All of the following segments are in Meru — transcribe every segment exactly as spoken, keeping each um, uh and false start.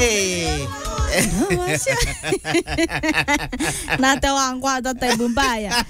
Eh. Na te wangwata taibu mbaya.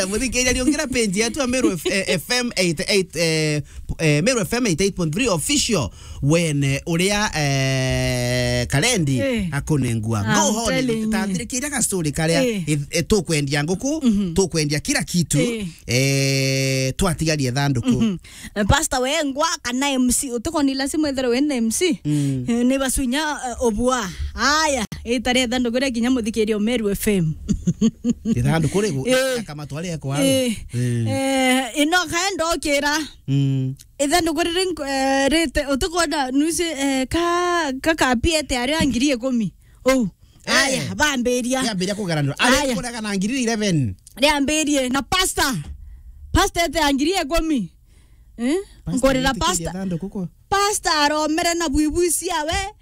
Muthikiria, riungira page yetu ya Meru F-, eh, F M eighty-eight, eh, eh, Meru F M eighty-eight point three official. Wene uria, eh, Karendi Eh. akunengua. I'm Go on, telling you. Tanthirikiria ga story karia Eh. i-, eh, tukwendia nguku, Mhm. tukwendia kila kitu, Eh. eh, twatigarie thanduku. Mhm. Eh, Pastor Wengwa kana M C, utikoni lazima ethirwe wina M C. Mm. Eh, ni basunya, eh, obua. Aya, itare thanduku ria kinya muthikiria Meru F M. Ithanduku riu, Eh. kama twari kwa. Eh. Eh. Eh, ino kaenda okira. Mm. Ithanduku riri nk-, eh, rite, utikwona nusi, eh, ka, ka kapiete ario a ngiri ikumi. Ou. Eh. Aya, bambiria. Riambiria kugaranirwa. Ari Aya. kurega na ngiri eleven. Riambirie na pastor. Pastor ete ya ngiri ikumi. Eh? Pastor Nkorera agitikiria pastor. thanduku kwa. Pastor aromere na bwibwi ciawe.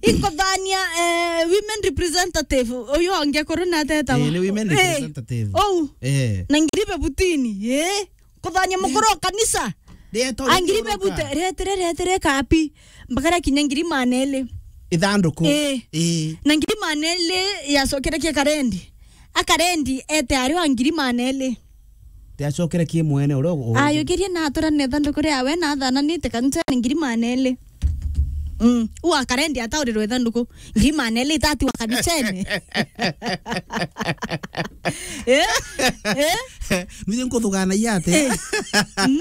Inkothania, eh, women representative. Uyu onge kuru na teta Eh, wa. ni women Eh. representative. Ou. Eh. Na ngiri bebutini. Eh? Kuthania mukuru wa kanisa. Rieto Angiri rikoroka. bebute, retire, retire kapi. Mbakara kinya ngiri maneli. Ithanduku. Ii. Ii. Na ngiri maneli yacokere kia Karendi. A Karendi ete ario a ngiri maneli. Tiacokere ki mwene uria u-, u-, Ayukirie na atura na ithanduku riawe na athananite kanisa ni ngiri maneli. Mm. Ua Karendi ataurirwe ithanduku. Ngiri maneli itati wa kanisene. Eh? Eh? Nije nkuthuganagia atia? Eh? Mm.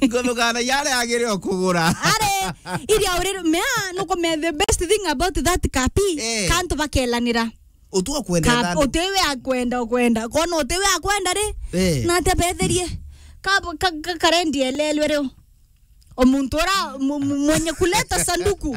Nkuthuganagia aria agire okugura. Are, iria urire, mea, nukumea the best thing about that kapi, Eh. kantu bakelanira. Utu akwenda Ka-, thandu. Utiwe akwenda, ukwenda. Kono utiwe akwenda ri? Eh. Na ate betherie. Ka, ka, ka, Karendi elelwe rio. O muntu ura mu-, mu-, mwenye kuleta sanduku.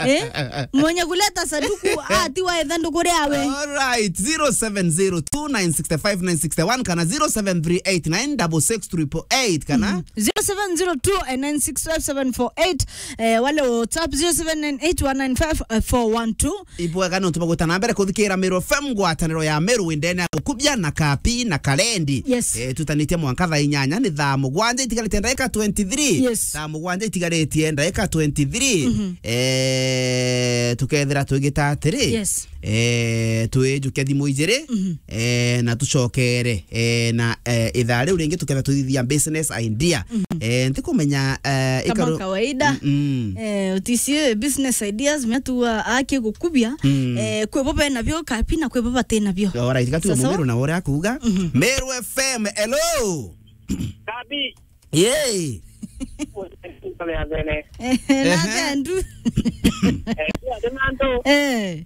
Eh? Mwenye kuleta sanduku, atiwa ithanduku riawe. All right, zero seven zero two nine six five nine six one kana zero seven three eight nine double six triple eight kana Mm. Zero seven zero two nine six five seven four eight. Eh, wale WhatsApp zero seven nine eight one nine five four one two. Ibwega nontu bwa gwita na mbere kuthikira Meru F M, ngwataniro ya Meru indene ya gukubia na kapi na karendi. Yes. Eh, tutanitie mwanka thaa inyanya, ni thaa mugwanja itigarite ndagika twenty-three. Yes. Thaa mugwanja itigaritie ndagika twenty-three. Mhm. Eh, tukethira twigita atiri. Yes. Eh, twijuke thimu ijiri. Mhm. Eh, na tucokere, eh, na, eh, ithaa riu ringi tukethira tuthithia business idea. Mhm. Eh, ntikumenya, eh, Kama ikaru- kawaida. Mm, mm. Eh, utisi business ideas, metua aki gukubia. Mm. Eh, kwi bo bena bio kapi na kwi bo bati na bio. Alright, gatu Sasa? Mumiru na uria akuuga. Mhm. Meru F M, hello. Kabi. Yay. Kame athene. Eh, na Ehe. Thendu. Eh, ati mantu. Eh.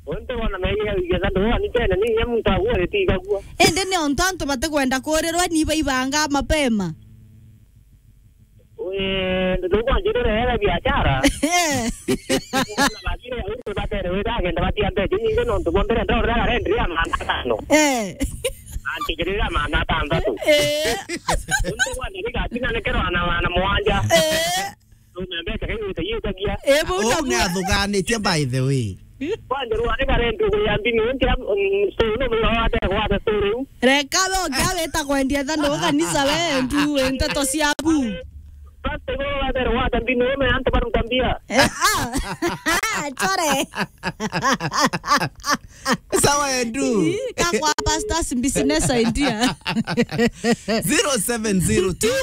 Untu wona maiga igetha ndo wa ni tene ni ya muntu agwo ri tigagwo. Ende ni ontantu batikwenda kurirwa ni baibanga mapema. Eh, ndugu kwa njirire ya biashara. Eh. Wana bagire ya untu batere wira agenda batia mbeca nyingi nontu bwa mbere ndorera rent ya maana atano. Eh. Antigirira maana atantatu. Eh. Untu kwa ndiri gatina ni kero ana maana mwanja. Eh. Ndume mbeca kai wita yitagia. Eh, bo Oh, na ni bo. Athuganitie by the way. Kwanja rwa ni karenti uguria mbini, ntia, mm, store, no mwiga wa tere gwata store riu. Reka we, ukia wita kwendia thandu kanisa we, ndu, nteto ciaku. Pastor, iguru wa tere gwata mbini, ume antu baruta mbia. Eh, ah. Chore. Sawa, Andrew. Ii, kakwa pastors business idea. Zero seven zero two,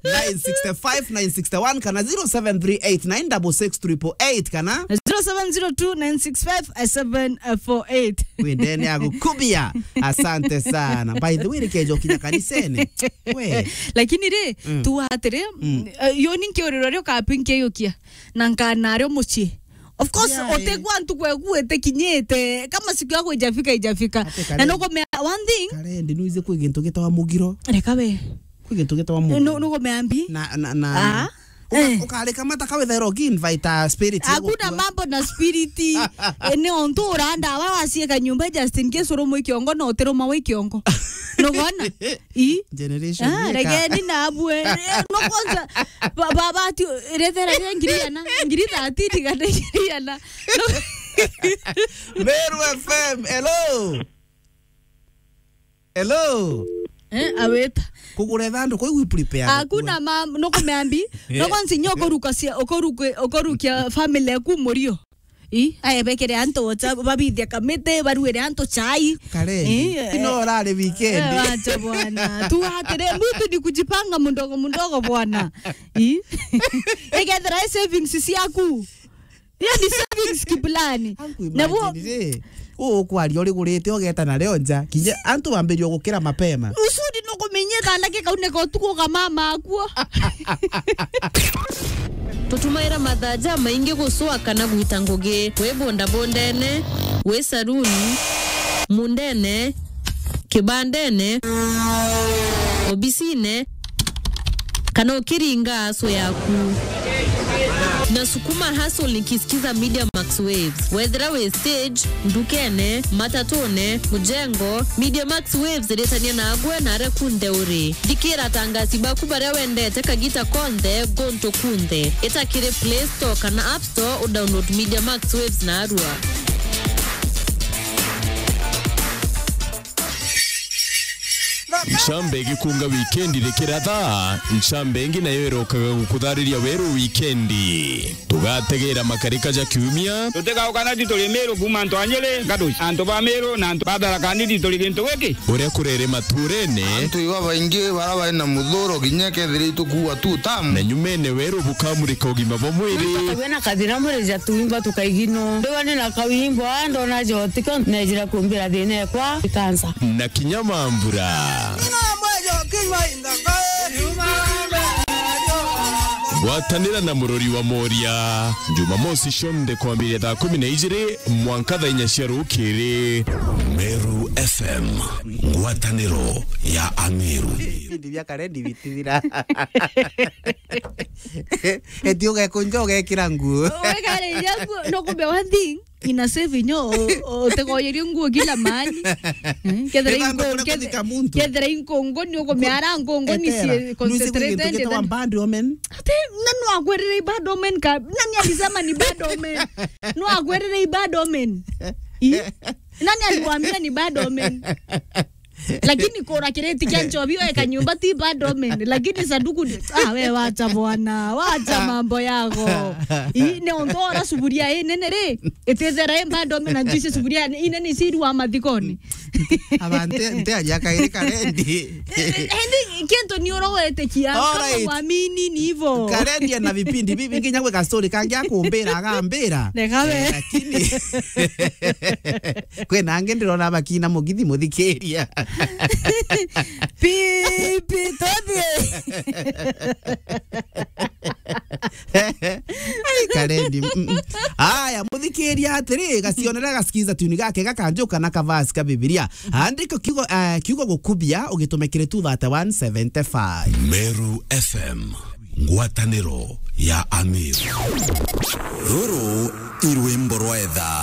nine six five, nine six one kana zero seven three eight nine double six triple eight kana zero seven zero two nine six five seven four eight. Wendene ya gukubia. Asante sana. By the way, reke njokinya kanisene. We. Lakini ri, Mm. tu atiri, Mm. eh, yo ni nkiuriro rio kapi nkiyukia. Na nkana ario mucii. Of course, Yeah, eh. Utegwa ntuku eku itikinyite. Kama siku yako ijafika, ijafika. Ate Na Karen. Nukumea one thing. Karen, nduize kwi gintu gitawa mugiro. Reka we. Kwi gintu gitawa mugiro. Nu-, nukumea mbi. Na, na, na. Ah. Uka-, Eh. Ukareka mata kawethaira uki-invite a spirit ya Hakuna gukua. Mambo na spirit. Eh, ni ontu uranda wa wacieka nyumba just in case urumwa ikiongo na utiruma wa ikiongo. Nugona? I? Generation Ah, yeka. Regeni na abue. Eh, no kwanza, ba-, ba-, bati, rethera ria ngiri ana, ngiri thirteen kana ngiri ana. No. Meru F M, hello. Hello. Eh, awita. Kugura ithanduku iu prepare. Hakuna ma-, nukumeambi. Yeah. Noko nsinya ukuruka cia-, ukuruke-, ukurukia family yaku murio. I, aebekere antu ocha, babithia kamiti, baruire antu chai. Kare. Eh, ino eh. Urari weekend. Eh, wacha bwana. Tu atire, mtu ni kujipanga mdogo mdogo bwana. I. Ikethira i savings ciaku. Hiyo ni savings kiplani. Angu. Na bo imagine, eh. Uu ukwaria urigurite ugeta nario nja. Kinya antu bambirie gukira mapema. Usudi nukumenyetha ndagika une ka utuku ukamama akuo. Tutumaira mathaa jamaingi gucua kana gwita ngugi. Wi bundabundene, wi saruni, mundene, kibandene, obisine, kana ukiringa aso yaku. Na sukuma hustle nikisikiza Media Max Waves. Wethira wi stage, ndukene, matatune, mujengo, Media Max Waves iritania nagwe na aria kunthe uri. Thikira atangasi baku baria wendete kagita konthe, guntu kunthe. Ita kiri Play Store kana App Store, udownload Media Max Waves narua. Ncamba igikunga wikendi rikiratha, ncamba ingi nayo irokaga gukuthariria weru wikendi. Tugategera makarika ja kiumia. Tutigauka na tituri Miru kuuma antu a Nyeri, Gaduci, antu ba Miru na antu ba Tharaka Nithi turi gintu giki. Uria kurere maturene. Antu iba baingi bara bari na muthuro kinya kethira itukuua tu tamu. Na nyumene weru bukamurika ugima bwa mwiri. Wina kathina mwiri ja tuimba tukaigino. Ndiwa ni na kawimbo, ndona jotiko, nejira kumbira thina ekwa, ikansa. Na kinya mambura. Gwatanira na murori wa Moria, Jumamosi cionthe kwambiria thaa kumi na ijiri mwanka thaa inya cia rukiri. Meru F M, ngwataniro ya Ameru. Ibindi bia Karendi bitithira. Eti ugekunja ugekira nguo. Ugekira nguo, no kumbe one thing. Ina save inyo, o-, o-, utegoyerie nguo kila mahali. Eh, kethira inko-, kethira inkongo ni ugumiara nkongo ni cie concentrated. Bad omen. Ati, na no akwirire bad omen ka, nani alisema ni bad omen? No akwirire bad omen. I? Nani alikwambia ni bad omen? Lakini kura kiriti kia nchobi weka nyumba ti bad omen, lakini sanduku ni, ah, we wacha bwana, wacha mambo yako. I, ni onto ora suburia i nene ri, itithera i bad omen na juice suburia i nene isiru wa mathikoni. Aba nte, nte aja kairi Karendi. Endi kintu ni urowete kia, kama uamini ni hivyo. Karendi na vipindi bibi nginya gwika story kangi akumbira agambira. Nekawe. Eh, lakini kwina angi ndirona bakina mugithi muthikiria. Pipi, tobie. Ai, Karendi. Mm, mm. Aya, muthikiria atiri, gacionere gasikiza tuni gake gakanjuka na kavasi ka Bibilia. Andika kiugo, eh, kiugo gukubia, ugitumikire two thirty-one seventy-five. Meru F M, ngwataniro ya Ameru. Ruru i rwimbo rwa etha.